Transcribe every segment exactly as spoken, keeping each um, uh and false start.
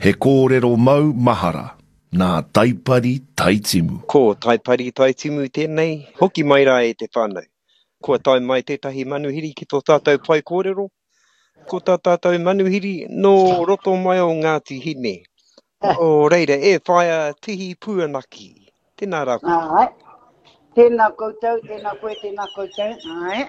He kōrero mau mahara nā Taipari Taitimu. Ko Taipari Taitimu tēnei, hoki mai rā e te whānau. Kua tae mai tētahi manuhiri ki tō tātou pae kōrero. Ko tā tātou manuhiri nō roto mai o Ngāti Hine. O reira, e whaia Tihi Puanaki. Tēnā rā koe. Āe. Tēnā koutou, tēnā koe, tēnā koutou. Āe.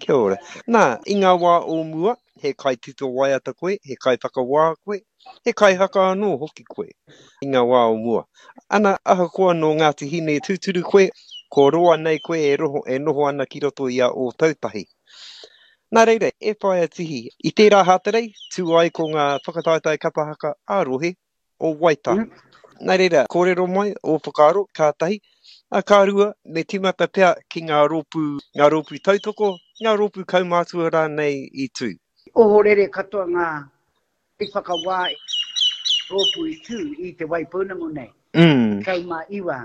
Kia ora. Nā, i ngā wā o mua, he kaitito waiata koe, he kaiwhakawā koe, he kaihaka anō hoki koe i ngā wā o mua. Ana, ahakoa nō Ngāti Hine tūturu koe, ko roa nei koe e, roho, e noho ana ki roto i a Ōtautahi. Nā reira, e whaia Tihi, i tērā Hātarei, tū ai ko ngā whakataetae kapa haka ā-rohe o Waitaha. Mm. Nā reira, kōrero mai, ō whakaaro, ka tahi, a ka rua, me tīmata pea ki ngā rōpū, ngā rōpū tautoko, ngā rōpū kaumātua rānei i tū. Ohorere katoa ngā kaiwhakawā rōpū i tū i Te Waipounamu nei. Mm. Tekau mā iwa,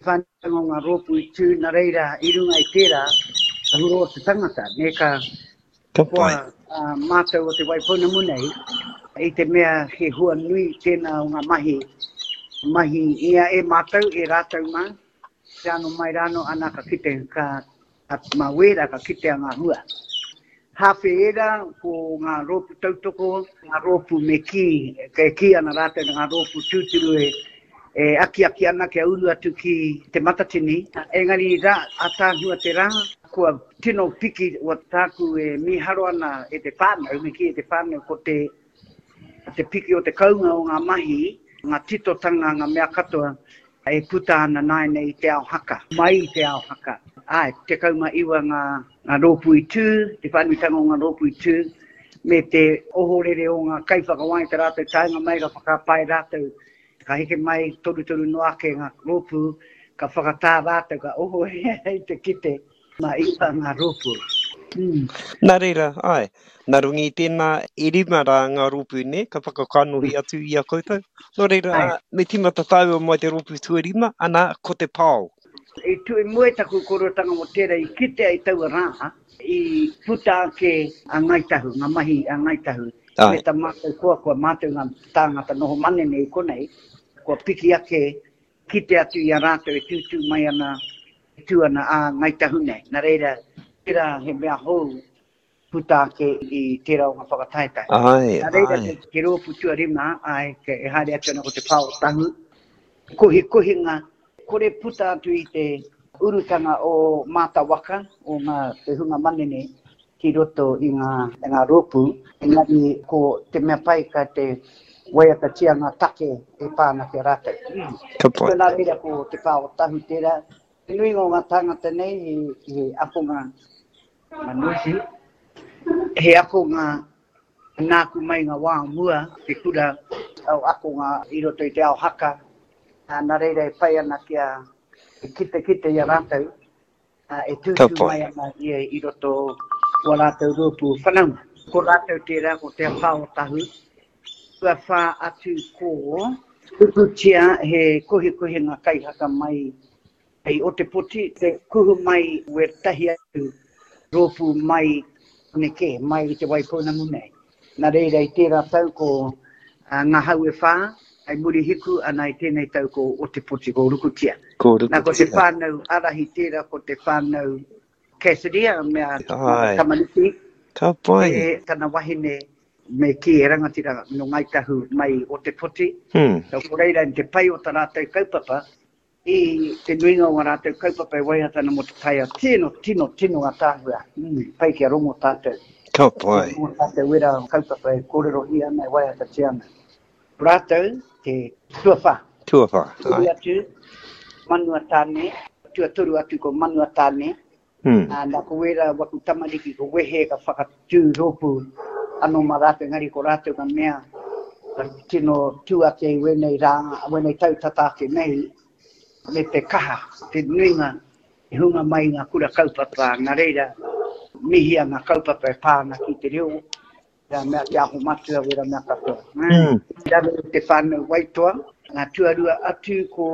whānau o ngā rōpū i tū, nā reira, i runga i tērā, ka huro te tangata, nē, ka Ka koa pai. uh, mātou o Te Waipounamu nei, i te mea he hua nui tēnā o ngā mahi, mahi ia e mātou, e rātou mā, te ano mai rāno, ana ka kite, ka, ka mā wēra ka kitea ngā hua. Hāwhe ērā, ko ngā rōpū tautoko, ngā rōpū me kī, e kī ana rātou ngā rōpū tūturu e, e akiaki ana kia uru atu ki Te Matatini. Engari rā, ātaahua te rā, kua tino piki o tāku e mīharo ana e te whānau, me kī e te whānau ko te, te piki o te kaunga o ngā mahi, ngā titotanga, ngā mea katoa, e puta ana nāianei i te ao haka, mai i te ao haka. Āe, tekau mā iwa ngā, ngā rōpū i tū, te whānuitanga o ngā rōpū i tū, me te ohorere o ngā kaiwhakawā i te rātou taenga mai, ka whakapae rātou, ka heke mai torutoru noa ake ngā rōpū, ka whakatā rātou, ka ohorere i te kite mā iwa ngā rōpū. Mm. Nā reira, āe, nā runga i tēnā, e rima rā ngā rōpū nei, ka whakakanohi atu i a koutou. Nō reira, Āe. me tīmata tāua mai te rōpū tuarima, ana, ko te pao. I tū i mua i taku korotanga mō tērā i kitea i taua rā, i puta ake a Ngāi Tahu, ngā mahi a Ngāi Tahu, Āe. me tā mātou koa, kua mātou ngā tāngata noho manene i konei, kua piki ake, kite atu i a rātou e tūtū mai ana, e tū ana a Ngāi Tahu nei. Nā reira, tērā he mea hou puta ake i tērā o ngā whakataetae. Āe, Nā reira, āe. te, te rōpū tuarima, āe, ke, e haere atu ana ko te pao tahu, kohikohinga, kore puta atu i te urutanga o Mātawaka, o ngā te hunga manene ki roto i ngā, ngā rōpū. Engari ko te mea pai ka te waiatatia ngā take e pā ana ki a rātou. Mm. Ka pai. So nā reira ko te pao tahu tērā. Te nuinga o ngā tāngata nei he, he akonga manuhi, he akonga nāku mai ngā wā mua, te kura o akonga i roto i te ao haka. Nā reira e pai ana kia kite kite i a rātou, e Ka tūtū pai. mai ana ia i roto o rātou rōpū whanaunga. Ko rātou tērā, ko te pao tahu. Kua whā atu ko Rukutia he kohikohinga kaihaka mai i Ōtepoti, te kuhu mai wētahi atu rōpū mai neke, mai i Te Waipounamu nei. Nā reira i tērā tau ko uh, ngā hau e whā, ai Murihiku, ana i tēnei tau ko Ōtepoti, ko Rukutia. Ko Nā ko te Rukutia. whānau arahi tērā, ko te whānau Cassidy, a mea Āe. tamariki, Ka pai. e tana wahine me kī e rangatira no Ngāi Tahu mai Ōtepoti. Hmm. So, ko reira i te pai o tā rātou kaupapa, i te nuinga o ngā rātou kaupapa e waihata ana mō te taiao, tino, tino, tino ātaahua. Mm, pai kia rongo tātou. Ka pai. Kia rongo tātou wera kaupapa e kōrerohia ana, e waihatatia ana. Rātou te tuawhā. Tuawhā, Toru āe. atu, Manua Tāne, tuatoru atu ko Manua Tāne. Hmm. Ā, nā ko wera waku tamariki ko wehe ka whakatū rōpū anō mā rātou, engari ko rātou ngā mea ka tino tū ake i wēnei rā, wēnei tau tata ake nei, me te kaha, te nuinga, te hunga mai ngā kura kaupapa, ngā reira, mihia ngā kaupapa e pā ana ki te reo, wera mea te aho matua, wera mea katoa. Mm. Raro te whānau Waitoa, ngā tuarua atu ko,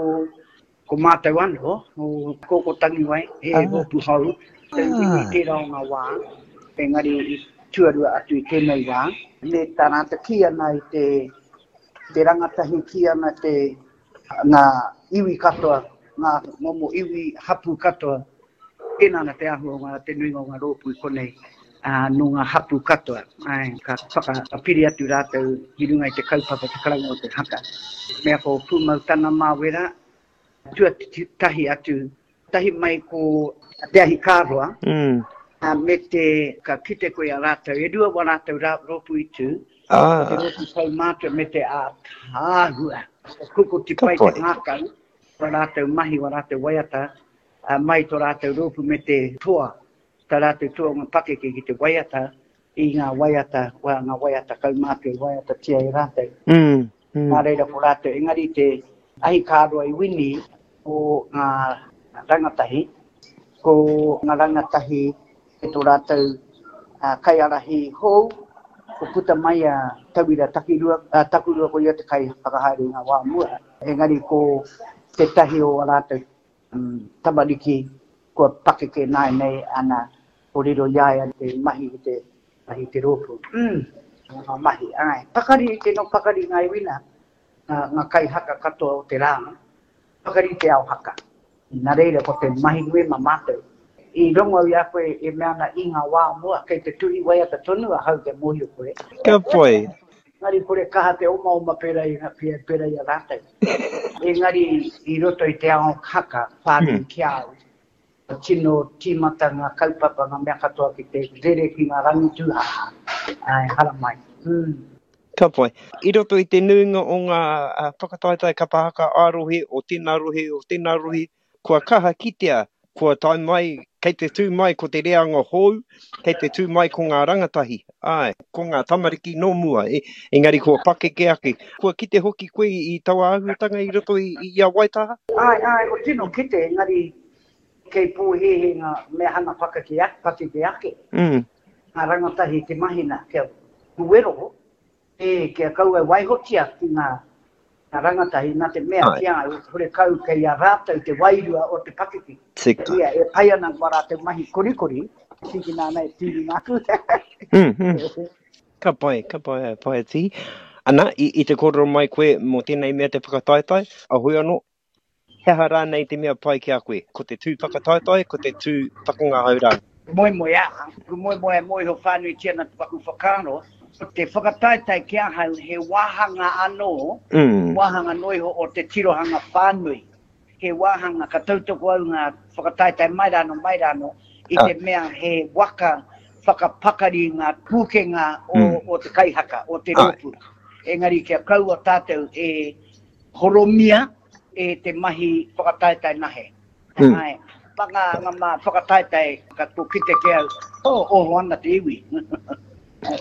ko mātou anō, o Koko Tangiwai, he Ah. rōpū hou, te iwi Ah. tērā o ngā wā, engari i tuarua atu i tēnei wā, me tā rātou kī ana i te Te rangatahi ki ana te ngā iwi katoa, ngā momo iwi hapū katoa. Tēnā ana te āhua o ngā, te nuinga o ngā rōpū i konei, ā, nō ngā hapū katoa. Āe, ka whakapiri atu rātou ki runga i te kaupapa te karanga o te haka. Mea ko Pūmau Tana Māwera, tuatahi atu, tahi mai ko Te Ahi Kāroa, mm. ā, me te, ka kite koe a rātou, e rua wā rātou rā, rōpū i tū, ah. te rōpū kaumātua me te ātaahua. Kuku te pai te ngākau, wā rātou mahi, wā rātou waiata, ā, mai tō rātou rōpū me te toa, tā rātou toa o ngā pakeke ki te waiata i ngā waiata, wā, ngā waiata kaumātua i waiatatia e rātou. Mm, mm. Nā reira ko rātou, engari te ahi kāroa i wini o ngā rangatahi, ko ngā rangatahi e tō rātou uh, kaiārahi hou, ko puta mai a Tauira Takirua, a Takurua ko ia te kai whakahaere i ngā wā mua. Engari ko tētahi o a rātou um, tamariki kua pakeke nāianei ana ko riro i a ia te mahi i te mahi i te rōpū. Mm, ngā mahi, āe. Pakari, tino pakari ngā iwi nā, ngā, ngā kaihaka katoa o te rā, pakari te ao haka. Nā reira ko te mahi nui mā mātou. I rongo au i a koe e mea ana i ngā wā mua, kei te tuhi waiata tonu ahau kia mōhio koe. Ka pai. Engari kore kaha te omaoma pērā i, pērā i a rātou. Engari i roto i te ao haka whānui ki a au, tino tīmata ngā kaupapa, ngā mea katoa ki te rere ki ngā rangi tūhaha. Ai, haramai. Mm. Ka pai. I roto i te nuinga o ngā uh, whakataetae kapa haka ā-rohe, o tēnā rohe, o tēnā rohe, kua kaha kitea, kua tae mai, kei te tū mai ko te reanga hou, kei te tū mai ko ngā rangatahi, āe, ko ngā tamariki nō mua, e, engari kua pakeke ake. Kua kite hoki koe i taua āhuatanga i roto i, i a Waitaha? Āe, āe, ko tino kite, engari kei pōhēhē ngā mea hanga pakeke ake, pakeke ake. Mm. Ngā rangatahi te mahina, kia wero, e, kia kaua e waihotia ki ngā, ngā rangatahi, nā te mea Ai. ki a au, horekau kei a rātou te wairua o te pakeke. Tika. Ia, e pai ana wā rātou mahi korikori, tīkina ana e tīringa aku. Mm, mm. Ka pai, ka pai, pai tī. Ana, i, i te kōrero mai koe mō tēnei mea te whakataetae, a hoi anō, he aha rānei te mea pai ki a koe? Ko te tū whakataetae, ko te tū whakangahau rānei? Moemoeā, ko moemoea mōhio whānuitia ana te paku whakaaro, ko te whakataetae ki ahau he wāhanga anō, Mm. wāhanga noiho o te tirohanga whānui. He wāhanga ka tautoko au ngā whakataetae mai rāno, mai rāno, i Ah. te mea he waka whakapakari ngā pūkenga o, Mm. o te kaihaka, o te Ai. rōpū. Engari kia kaua tātou e horomia e te mahi whakataetae nahe. Mm. Ai, panga ngā mā whakataetae, ka tō kite ki au, oh, oho ana te iwi.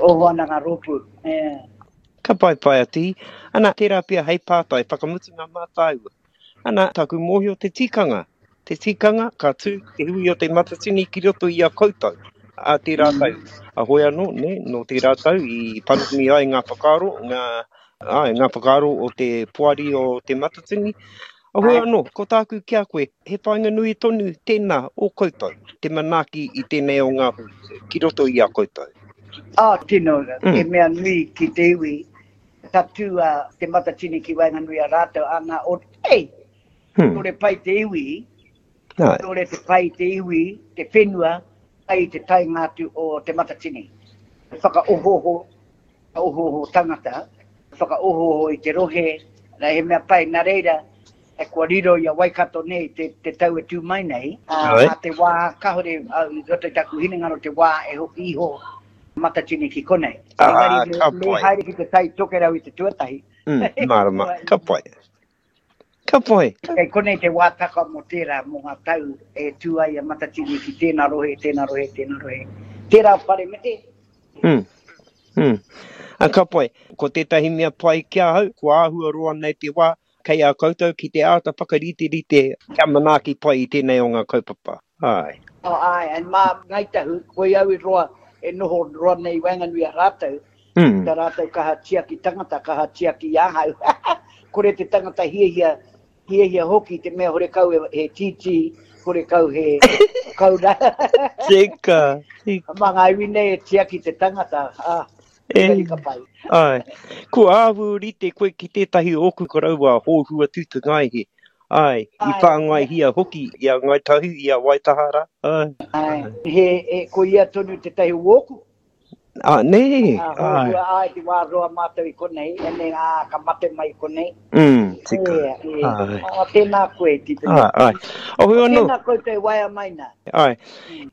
Oho ana ngā rōpū. Yeah. Ka pai pai a tī. Ana, tērā pia hei pātai, whakamutunga mā tāua. Ana, taku mōhio te tikanga. Te tikanga, ka tū te hui o te Matatini ki roto i a koutou. A tērā tau. A hoi anō, ne, nō tērā tau i panoni ai ngā whakaaro, ngā, ai, ngā whakaaro o te poari o te Matatini. A hoi Ai. anō, ko tāku ki a koe, he whāinga nui tonu tēnā o koutou, te manaaki i tēnei o ngā hui, ki roto i a koutou. Ah, tino, Mm. he mea nui ki te iwi, ka tū a te Matatini ki waenganui a rātou, ana o, ei, Hmm. tore pai te iwi, Ai. tore te pai te iwi, te whenua, pai te taenga atu o te Matatini. Whakaohoho, whakaohoho tangata, whakaohoho i te rohe, nā he mea pai, nā reira, e kua riro i a Waikato nei te, te tau e tū mai nei, a, Ai. a te wā, kahore, au, i roto i taku hinengaro te wā e hoki iho Matatini ki konei. Ah, Engari me, ka me pai. haere ki te tai tokerau i te tuatahi. Mm, mārama, ka pai. Ka pai. Kei konei te wātaka mō tērā, mō ngā tau e tū ai a Matatini ki tēnā rohe, tēnā rohe, tēnā rohe. Tērā whare me te. Mm. Mm. A ka pai, ko tētahi mea pai ki ahau, kua āhua roa nei te wā, kei a koutou ki te āta whakariterite kia manaaki pai i tēnei o ngā kaupapa. Ai. Oh, ai, and mā Ngāi Tahu, koe au i roa, e noho roa nei waenganui a rātou, Mm. tā rātou kaha tiaki tangata, kaha tiaki i ahau. Kore te tangata hiahia, hiahia hoki te mea horekau e, he tītī, horekau he kaura. Tika, tika. Mā ngā iwi nei e tiaki te tangata. Ah, Engari ka pai. Āe. Kua āhua rite koe ki tētahi o ōku koroua hōhua tūtungaihe. Āe, i whāngaihia hoki i a Ngāi Tahu, i a Waitaha rā. Āe. Āe, he, he, ko ia tonu tētahi o ōku. Ā, nē, āe. Hōhua, āe, te wā roa mātou i konei, ene, ā, ka mate mai i konei. Mm, tika. E, e, āe. Ā, tēnā koe, Tipene. Āe, āe. O, hoi anō. Tēnā koutou e waea mai nā. Āe.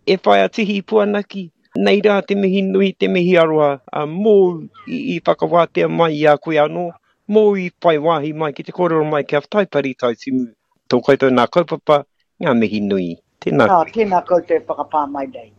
E whai a Tihi Puanaki, nei rā te mihi nui, te mihi aroha, ā, mōu i, i whakawātea mai i a koe anō, mōu i whai wāhi mai ki te kōrero mai ki a Taipari Taitimu, tō koutou nā kaupapa, ngā mihi nui. Tēnā koe. Ā, tēnā koutou e whakapā mai nei.